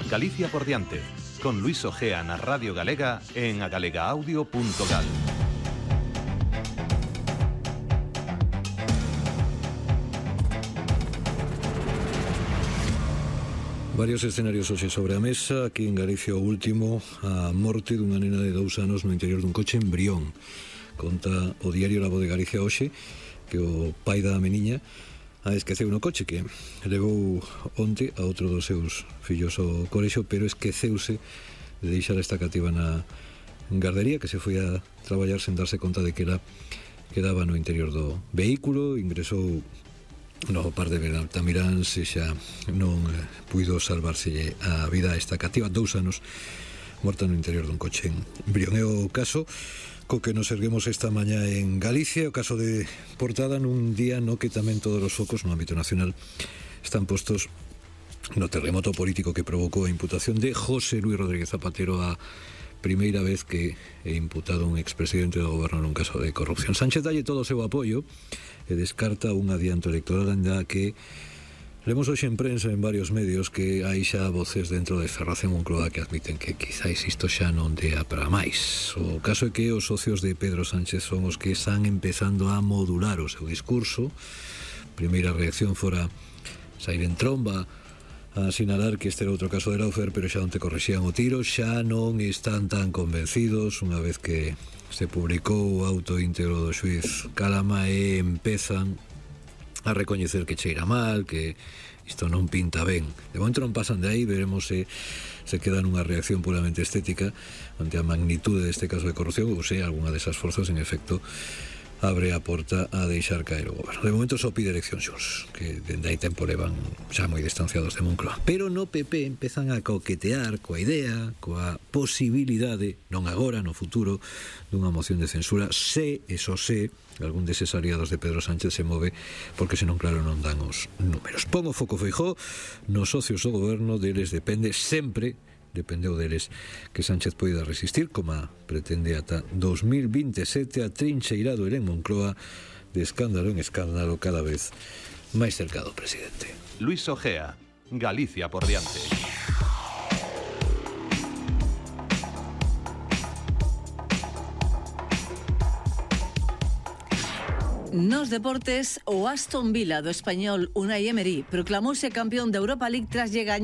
Galicia por diante, con Luis Ojea na Radio Galega en agalegaaudio.gal. Varios escenarios hoxe sobre a mesa. Aquí en Galicia o último, a morte dunha nena de 2 anos no interior dun coche en Brión. Conta o diario La Voz de Galicia hoxe que o pai da meniña esqueceu no coche, que levou onte a outro dos seus fillos ao colexo, pero esqueceuse de deixar esta cativa na gardería, que se foi a traballar sen darse conta de que ela quedaba no interior do vehículo. Ingresou no par de Bertamiráns e xa non puido salvárselle a vida a esta cativa, 2 anos morta no interior dun coche en Brión. É o caso co que nos erguemos esta mañá en Galicia, o caso de portada nun día no que tamén todos os focos no ámbito nacional están postos no terremoto político que provocou a imputación de José Luis Rodríguez Zapatero, a primeira vez que é imputado un expresidente do goberno nun caso de corrupción. Sánchez dalle todo o seu apoio e descarta un adianto electoral, ainda que lemos hoxe en prensa en varios medios que hai xa voces dentro de Ferraz e Moncloa que admiten que quizáis isto xa non dea para máis. O caso é que os socios de Pedro Sánchez son os que están empezando a modular o seu discurso. Primeira reacción fora sair en tromba a sinalar que este era outro caso de Laufer, pero xa onte correxían o tiro, xa non están tan convencidos unha vez que se publicou o auto íntegro do xuiz Calama e empezan a recoñecer que cheira mal, que isto non pinta ben. De momento non pasan de aí, veremos se queda nunha reacción puramente estética ante a magnitude deste caso de corrupción ou se algunha desas forzas en efecto abre a porta a deixar caer o goberno. De momento só pide elección Xurs, que dende aí tempo levan xa moi distanciados de Moncloa. Pero no PP empezan a coquetear coa idea, coa posibilidade, non agora, no futuro, dunha moción de censura, se, eso se, algún deses aliados de Pedro Sánchez se move, porque senón claro non dan os números. Pon o foco Feijóo nos socios do goberno, deles depende sempre, dependeu deles que Sánchez poida resistir, como pretende ata 2027, a trincheirado en Moncloa, de escándalo en escándalo, cada vez máis cerca do presidente. Luis Ojea, Galicia por diante. Nos deportes, o Aston Villa do español Unai Emery proclamouse campeón da Europa League tras lle gañar